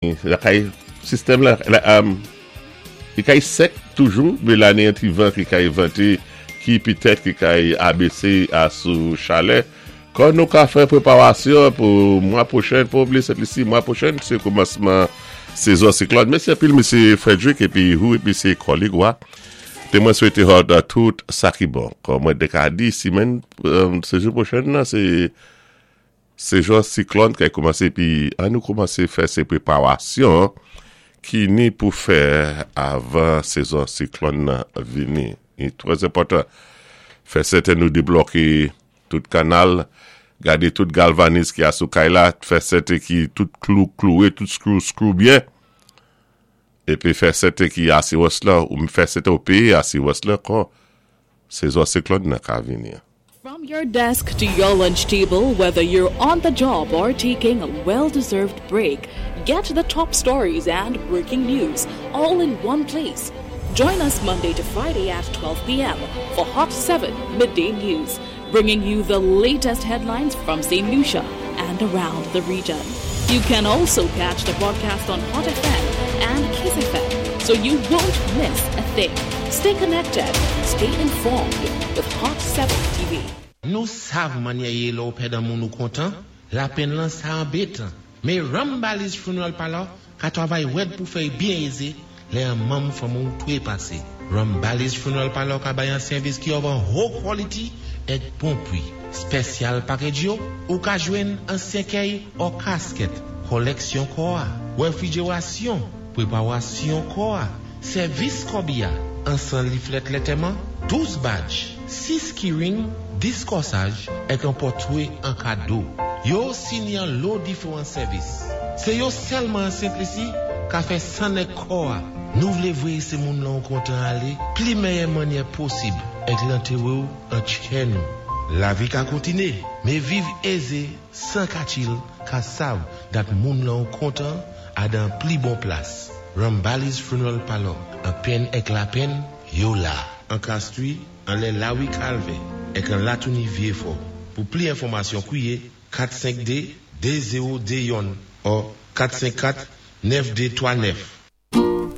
Lakay sistèm la li kay sèk toujou men la ni yon ti van ki kay vante ki petèt ki kay abese a sou chalè kò nou ka fè preparasyon pou mwa pwochen pa bliye Sent Lisi mwa pwochen se koumansman sezon siklòn mèsi anpil mesye Frederick epi hou epi se kòlig wa te mwen swete hòt tout sa ki bon kò mwen te ka di simèn sejou pwochen nan se. Sezon siklòn kay koumanse epi an nou koumanse fè se preparasyon ki ni pou fè avan sezon siklòn nan vini. Li trè enpòtan fè sèten nou debloke tout kanal, gade tout galvaniz ki a sou kay la, fè sèten ki tout klou klouwe, tout skrou skrou byen, epi fè sèten ki asirans lan, ou fè sèten ou peye asirans lan kon sezon siklòn nan ka vini. From your desk to your lunch table, whether you're on the job or taking a well deserved break, get the top stories and breaking news all in one place. Join us Monday to Friday at 12 p.m. for Hot 7 Midday News, bringing you the latest headlines from St. Lucia and around the region. You can also catch the broadcast on Hot FM and Kiss FM, so you won't miss a thing. Stay connected, stay informed with Hot 7 TV. Nou sav mannyè yé lè-w pèd an moun ou kontan, lapenn lan sa anbétan. Mé Rambali's Funeral Parlor ka twavay wèd pou fè-y byen ézé lè an manm fanmi-w twé pasé. Rambali's Funeral Parlor ka bay an sèvis ki of an ho quality èk bon pwi. Spèsyal package yo, ou ka jwenn an sèkèy or casket, kòlèksyon kò-a, wèfrijerasyon, pwépawasyon kò-a, Sèvis kòbiya, ansan liflèt lètèman, 12 badj, 6 keyring, 10 kòsaj, èk an pòtwe an kado. Yo osi ni an lo diféwan sèvis. Sé yo sèlman an Sent Lisi ka fè nèg kò a. Nou vlé vwéyé sé moun lan ou kontan alé pli mèyè mannyè posib èk lantéwé-w an tchè nou. Lavi ka kontiné, mé viv ézé 100 ka chill ka sav dat moun lan ou kontan a dan pli bon plas. Rambali's Funeral Parlor, an penn èk lapenn, yo la. An Castries, anlè Lawi Kalvè, èk an Latouni Vyéfò. Pou pli enfòmasyon kwiyé 452 2021 or 454 9239.